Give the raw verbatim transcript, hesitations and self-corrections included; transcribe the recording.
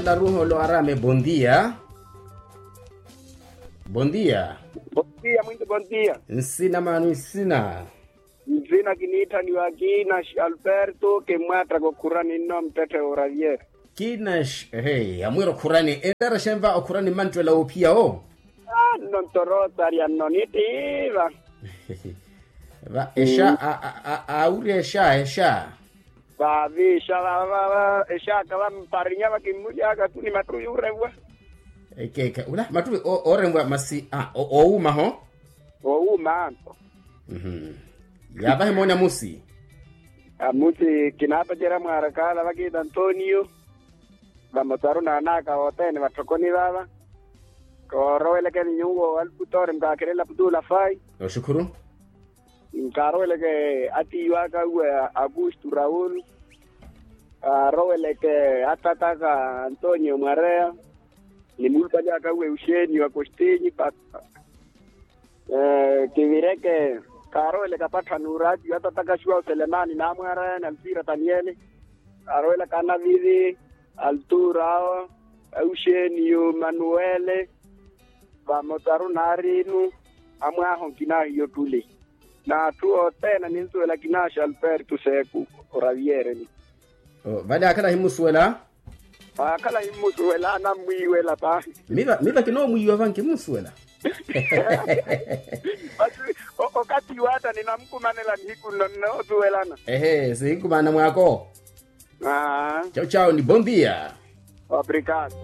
Laruholo arame bondia. Bondia. Bondia mwinti bondia. Nsina mano nsina? Nsina kiniitthaniwa kinash alberto kimmwataka okhurani nno mttetthe oravier. Kinash ehe amwira okhurani enrera xenva okhurani mmanttwela woophiya wo? Nno ntorotarya nno nittiiva. Va exa awurya exa exa. Vaavixa vava exaka vamparinya vakimmulyaka tu ni mattuvi oremvwa. Ekeeka ula mattuvi oremvwa masi owuuma ho. Owuuma anto. Yaavahi mooni amusi. Amusi kinaapacerya mwaarakaala vakiita antonio. Vamotaru naanaka wothene vatthokoni vava. Koorowelekeni nyuwo alputori mukaakhirela putula fai. Oxukhuru. Nkaaroweleke atiiwaka uwe akustu raul. Aaroweleke atataka antonio mwareya. Ni muulupali aka uwe euxenio akostinyi pata. Kivireke kaaroweleke apatthani uratiyo atataka xuwa oselemani naamwareya ni alpira taniele. Kaaroweleke anaviri altura awo. Euxenio manuele. Vamotaru naarinu. Amwaaho nkinahiyo tuli. N'atthu othene ninsuwela kinaxa alberto seku. Oraviere ni vale akhala himmusuwela. Akhala himmusuwela anammwiiwela paahi. Miva miva kinoomwiiwa vanki himmusuwela. Masi okatthi watta ninamkumanela nihiku nno nnoosuwelana. Ehe sihinkumana mwaako. Aa. Chau chau ni bondia. Obrigado.